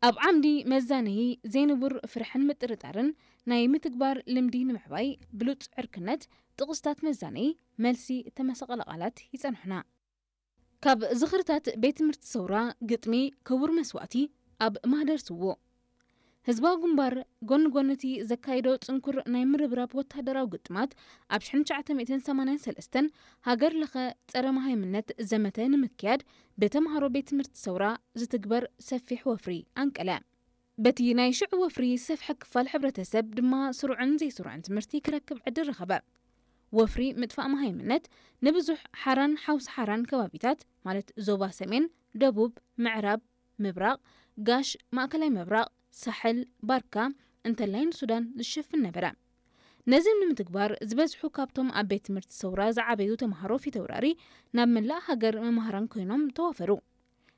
ኣብ ዓምዲ መዛነዪ ዘይንቡር ፍርሕን ምጥርጣርን ናይ ምትግባር ልምዲ ንምዕባይ ብሉጽ ዕርክነት ጥቕስታት መዛነዪ መልሲ እተመሰቐለ ቃላት ይጸንሑና። ካብ ዝኽርታት ቤት ትምህርቲ ሰውራ ግጥሚ ክቡር መስዋእቲ ኣብ ማህደር ስዎ ህዝባዊ ግንባር ጎኒ ጎኒ እቲ ዘካየዶ ጽንኩር ናይ ምርብራብ ወተሃደራዊ ግጥማት ኣብ ሽሕን ትሽዓተ ሚእትን ሰማንያን ሰለስተን ሃገር ለኸ ጸረ መሃይምነት ዘመተ ንምክያድ ብተምሃሮ ቤት ትምህርቲ ሰውራ ዝትግበር ሰፊሕ ወፍሪ ኣንቀለ። በቲ ናይ ሽዑ ወፍሪ ዝሰፍሐ ክፋል ሕብረተሰብ ድማ ስሩዕን ዘይስሩዕን ትምህርቲ ክረክብ ዕድል ረኸበ። ወፍሪ ምጥፋእ መሃይምነት ንብዙሕ ሓራን ሓውሲ ሓራን ከባቢታት ማለት ዞባ ሰሜን፣ ደቡብ፣ ምዕራብ፣ ምብራቕ፣ ጋሽ፣ ማእከላይ ምብራቕ፣ ሳሕል፣ ባርካ እንተላይ ንሱዳን ዝሽፍን ነበረ። ነዚ ንምትግባር ዝበዝሑ ካብቶም ኣብ ቤት ትምህርቲ ሰውራ ዝዓበዩ ተምሃሮ ፊተውራሪ ናብ መላእ ሃገር መማህራን ኮይኖም ተዋፈሩ።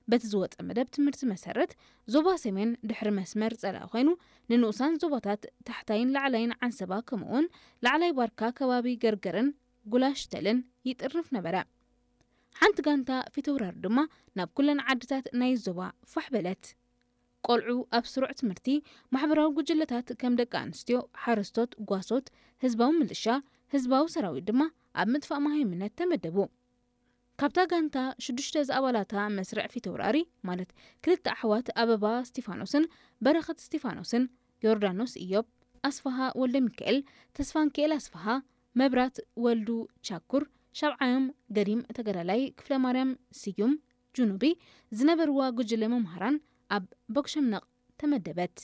በቲ ዝወጸ መደብ ትምህርቲ መሰረት ዞባ ሰሜን ድሕሪ መስመር ጸላኢ ኮይኑ ንንኡሳን ዞባታት ታሕታይን ላዕላይን ዓንሰባ ከምኡውን ላዕላይ ባርካ ከባቢ ገርገርን ጉላሽተልን ይጥርንፍ ነበረ። ሓንቲ ጋንታ ፊተውራሪ ድማ ናብ ኩለን ዓድታት ናይ ዞባ ፋሕ በለት። ቆልዑ ኣብ ስሩዕ ትምህርቲ ማሕበራዊ ጉጅለታት ከም ደቂ ኣንስትዮ፣ ሓረስቶት፣ ጓሶት፣ ህዝባዊ ምልሻ፣ ህዝባዊ ሰራዊት ድማ ኣብ ምጥፋእ መሃይምነት ተመደቡ። ካብታ ጋንታ ሽዱሽተ ዝኣባላታ መስርዕ ፊተውራሪ ማለት ክልተ ኣሕዋት ኣበባ እስቲፋኖስን በረኸት እስቲፋኖስን፣ ዮርዳኖስ ኢዮብ፣ ኣስፍሃ ወልደ ሚካኤል፣ ተስፋንኪኤል ኣስፍሃ፣ መብራት ወልዱ ቻኩር፣ ሻብዓዮም ገዲም ተጋዳላይ ክፍለ ማርያም ስዩም ጁኑቢ ዝነበርዋ ጉጅለ መምሃራን ኣብ ቦክሸምነቕ ተመደበት።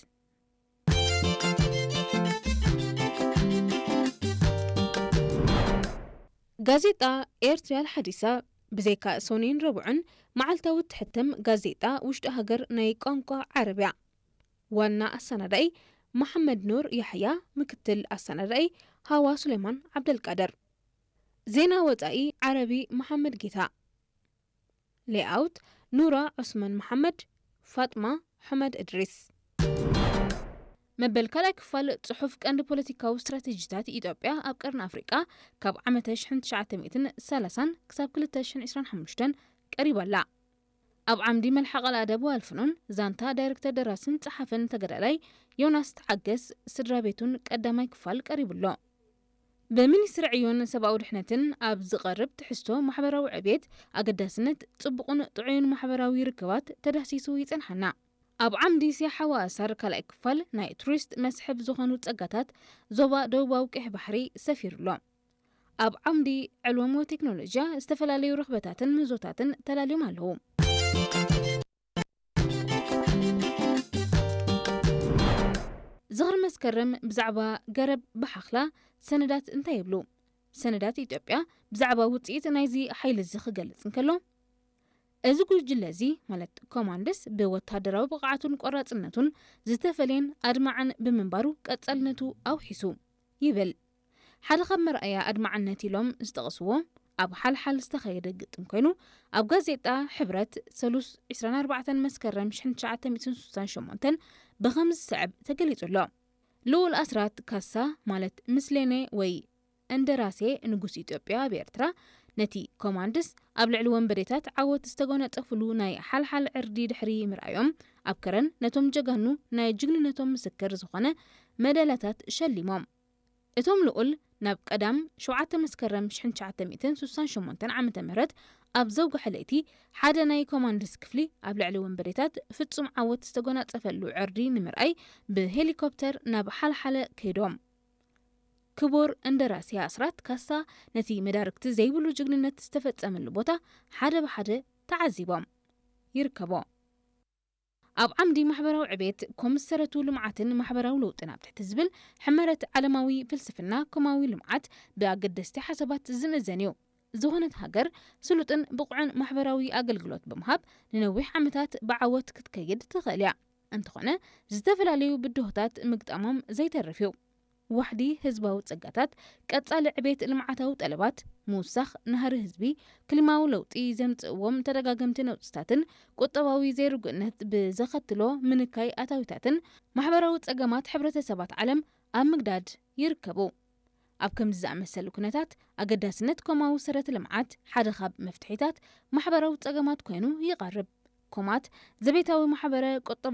ጋዜጣ ኤርትሪያል ሓዲሳ ብዘይካ ሶኒን ረቡዕን መዓልታዊ እትሕተም ጋዜጣ ውሽጢ ሃገር ናይ ቋንቋ ዓረብያ። ዋና ኣሰናዳኢ መሓመድ ኑር ያሕያ፣ ምክትል ኣሰናዳኢ ሃዋ ሱሌማን ዓብደልቃድር። ዜና ወጻኢ ዓረቢ መሓመድ ጌታ። ሌኣውት ኑራ ዑስማን መሓመድ፣ ፋጥማ ሑመድ እድሪስ። መበል ካልኣይ ክፋል ጽሑፍ ቀንዲ ፖለቲካዊ ስትራቴጂታት ኢትዮጵያ ኣብ ቀርኒ ኣፍሪቃ ካብ ዓመተ ሽሕን ትሽዓተ ሚእትን ሰላሳን ክሳብ ክልተ ሽሕን ዕስራን ሓሙሽተን ቀሪባ ኣላ። ኣብ ዓምዲ መልሓቕ ኣልኣደብ ወኣልፍኑን ዛንታ ዳይሬክተር ደራስን ጸሓፍን ተጋዳላይ ዮናስ ተዓገስ ስድራ ቤቱን ቀዳማይ ክፋል ቀሪቡ ኣሎ። ብሚኒስትሪ ዕዮን ሰብኣዊ ድሕነትን ኣብ ዝቐርብ ትሕዝቶ ማሕበራዊ ዕብየት ኣገዳስነት ጽቡቕን ጥዑይን ማሕበራዊ ርክባት ተዳህሲሱ ይጸንሓና። ኣብ ዓምዲ ሲያሓ ወኣሳር ካልኣይ ክፋል ናይ ቱሪስት መስሕብ ዝኾኑ ጸጋታት ዞባ ደቡባዊ ቀይሕ ባሕሪ ሰፊሩ ኣሎ። ኣብ ዓምዲ ዕልወም ወቴክኖሎጂያ ዝተፈላለዩ ርኽበታትን ምህዞታትን ተላልዮም ኣለዉ። ዝኽሪ መስከረም ብዛዕባ ገረብ ብሓኽላ ሰነዳት እንታይ ይብሉ? ሰነዳት ኢትዮጵያ ብዛዕባ ውጽኢት ናይዚ ሓይሊ እዚ ክገልጽ እንከሎ፣ እዚ ጉጅለ እዚ ማለት ኮማንድስ ብወታደራዊ ብቕዓቱን ቆራጽነቱን ዝተፈልየን ኣድማዕን ብምንባሩ ቀጻልነቱ ኣውሒሱ ይብል። ሓደ ካብ መርኣያ ኣድማዕነት ኢሎም ዝጠቕስዎ ኣብ ሓልሓል ዝተኸየደ ግጥም ኮይኑ ኣብ ጋዜጣ ሕብረት ሰሉስ ዕስራን ኣርባዕተን መስከረም ሽሕን ትሽዓተ ሚእትን ስሳን ሸሞንተን ብኸምዚ ዝስዕብ ተገሊጹ ኣሎ። ልኡል ኣስራት ካሳ ማለት ምስሌኔ ወይ እንደራሴ ንጉስ ኢትዮጵያ ኣብ ኤርትራ ነቲ ኮማንድስ ኣብ ልዕሊ ወንበዴታት ዓወት ዝተጎናጸፍሉ ናይ ሓልሓል ዕርዲ ድሕሪ ምርኣዮም ኣብ ከረን ነቶም ጀጋኑ ናይ ጅግንነቶም ምስክር ዝኾነ መዳልያታት ሸሊሞም። እቶም ልኡል ናብ ቀዳም ሸውዓተ መስከረም ሽሕን ትሽዓተ ሚእትን ስሳን ሸሞንተን ዓመተ ምህረት ኣብ ዘውግሐ ለይቲ ሓደ ናይ ኮማንድስ ክፍሊ ኣብ ልዕሊ ወንበዴታት ፍጹም ዓወት ዝተጎናጸፈሉ ዕርዲ ንምርኣይ ብሄሊኮፕተር ናብ ሓልሓለ ከይዶም። ክቡር እንደራሴ ኣስራት ካሳ ነቲ መዳርግቲ ዘይብሉ ጅግንነት ዝተፈጸመሉ ቦታ ሓደ ብሓደ ተዓዚቦም ይርከቦ። ኣብ ዓምዲ ማሕበራዊ ዕቤት ኮምሰረቱ ልምዓትን ማሕበራዊ ለውጥን ኣብ ትሕቲ ዝብል ሕመረት ዓለማዊ ፍልስፍና ኮማዊ ልምዓት ብኣገደስቲ ሓሳባት ዝምእዘን እዩ። ዝኾነት ሃገር ስሉጥን ብቑዕን ማሕበራዊ ኣገልግሎት ብምሃብ ንነዊሕ ዓመታት ብዓወት ክትከይድ ትኽእል እያ። እንተኾነ ዝተፈላለዩ ብድሆታት ምግጣሞም ዘይተርፍ እዩ። ዋሕዲ ህዝባዊ ጸጋታት፣ ቀጻሊ ዕቤት ልምዓታዊ ጠለባት፣ ምውሳኽ ናህሪ ህዝቢ፣ ክሊማዊ ለውጢ ዘምጽእዎም ተደጋገምቲ ነውጽታትን ቁጠባዊ ዘይርጉእነት ብዘኸትሎ ምንካይ ኣታዊታትን ማሕበራዊ ጸገማት ሕብረተሰባት ዓለም ኣብ ምግዳድ ይርከቡ። ኣብ ከምዚ ዝኣመሰሉ ኩነታት ኣገዳስነት ኮማዊ ሰረተ ልምዓት ሓደ ካብ መፍትሒታት ማሕበራዊ ጸገማት ኮይኑ ይቐርብ። ኮማት ዘቤታዊ ማሕበረ ቁጠባ